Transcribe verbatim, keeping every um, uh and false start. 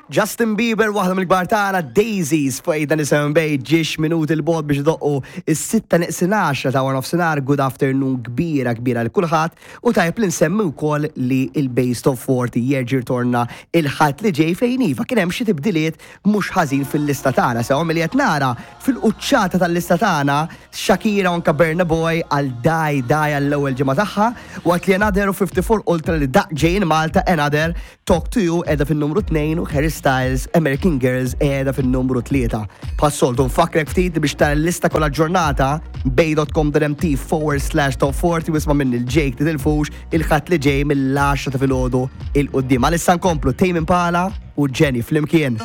Justin Bieber, waħda mill-kbar tagħna, Daisies, fuq eight ninety-seven Bay, ġiex minuti 'l bogħod biex idoqqu is-sitta neqsin għaxra ta' nofsinhar. Good afternoon kbira kbira lil kulħadd u tajb li nsemmi wkoll li il-Bay's Top forty jerġa' jirtorna il-Ħadd li ġej, fejn iva kien hemm xi tibdiliet mhux ħażin fil-lista tagħna. Sew milli qed nara fil-quċċata tal-lista tagħna, Shakira u anka Burna Boy għal Dai Dai għall-ewwel ġimgħa tagħha, waqt li Another u fifty-four Ultra li daq ġejjin Malta, Another Talk to You qiegħda fin-numru tnejn u Harry Styles American Girls qiegħda fin-numru tlieta. Bħas-soltu nfakkrek ftit biex tara l-lista kollha ġurnata bay dot com dot M T forward slash top forty u isma' minn il-Jake, titilfux il-Ħadd li ġej mill-għaxra ta' filgħodu 'l quddiem. Għalissa nkomplu Tame Impala u Jenny flimkien.